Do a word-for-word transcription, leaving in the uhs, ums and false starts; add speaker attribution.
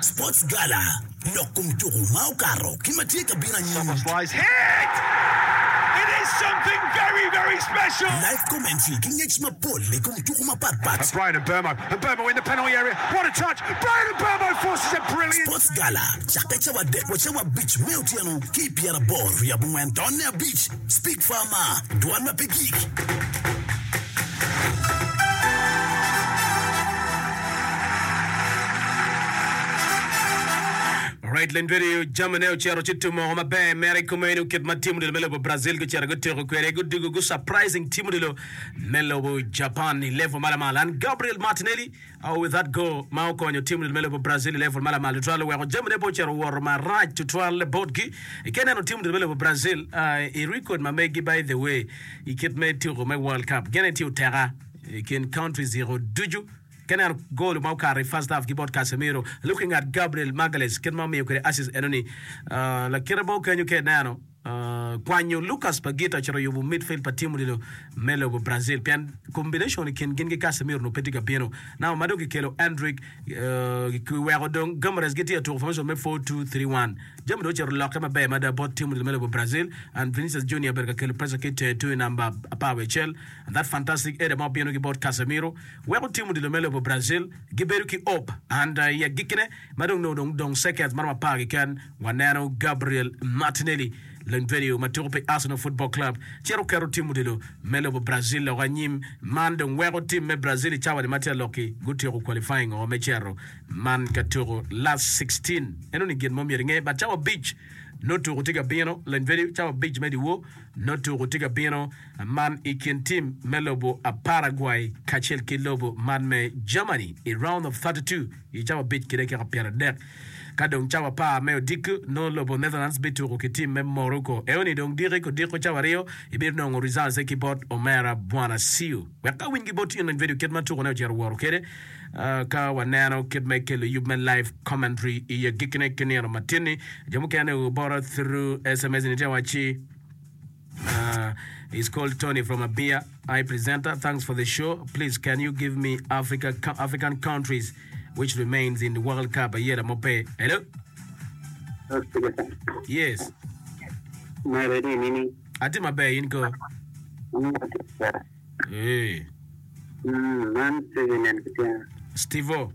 Speaker 1: Sports Gala lok kom tuku ma okato ki ma tye ka bino anyim.
Speaker 2: It is something very, very special.
Speaker 1: Live commentary ki ngec mapol i kom tuku mapatpat.
Speaker 2: Bryan Mbeumo, Mbeumo in the penalty area. What a touch! Bryan Mbeumo forces a brilliant.
Speaker 1: Sports Gala cakke cawa adek wa cawa abic me otyeno ki i pyeraboro wiye abongwen tonne abic Speak Farmer dwan ma pe gik.
Speaker 3: Alright, leny radio jamine ocito ci tumoko maber mere i kome ni kit ma tim odilo me lobo Brazil gucito gutuko kwede gudugo gu surprising tim odilo me lobo Japan i level ma lamal and Gabriel Martinelli oh, with that goal ma okonyo tim odilo me lobo Brazil i level ma lamal tutwal oweko jamine pe ocito owoto marac tutwal botgi ka ineno tim odilo me lobo Brazil uh, i record ma megi by the way i kit me tuko me World Cup gene tye oteka i kin countries iko ducu Ka ineno gol ma okato i first half ki bot Casemiro, looking at Gabriel Magalhaes kit ma omiyo kwede assist enoni, uh, lakite mo kenyo ka ineno uh, kwanyo Lucas Paqueta ocito yubo midfield pa team odilo me lobo Brazil pien combination i kin gin ki Casemiro onongo pe tye ka bino. Now ma dong kikelo Endrick uh, kiweko dong Guimaraes gitye ka tuko formation me four two three one. Jami dong ocito lokke maber mada bot team odilo me lobo Brazil and Vinicius Junior obedo ka kelo pressure ki i tenge tung i namba apar wiye acel and that fantastic header ma obino ki bot Casemiro weko tim odilo me lobo Brazil gibedo ki hope and i agikkine ma dong nongo dong dong seconds maromo apar keken waneno Gabriel Martinelli lony vedio ma tuko pi Arsenal Football Club cito keto tim odilo me lobo Brazil loko anyim man dong weko tim me Brazil i cawa ni ma tye aloki gutyeko qualifying o me cito man ka tuko last sixteen eno ni gin mo myero inge but cawa abic nongo tuko tye ka bino lony vedio cawa abic me dyewor nongo tuko tye ka bino man i kin tim me lobo Paraguay kacel ki lobo man me Germany i round of thirty two i cawa abic ki dakika pyeradek. Ka dong cawa apar me odiko nongo lobo Netherlands bituko ki tim me Morocco. Eoni dong diki kodiko cawa aryo ibinongo results ki bot omera Bwana Siu. Wek awiny ki bot in video kit ma tukone ocito woro kede ka waneno kit me kelo yub me live commentary i agikkine ki nino matin-ni. Jo mukene obota through S M S ni tye wacci. Uh, it's called Tony from Abia. Hi, presenter. Thanks for the show. Please, can you give me Africa, African countries which remains in the World Cup? Ayera Mope. Hello? Yes. Ati maber in ko. Eh. Stevo.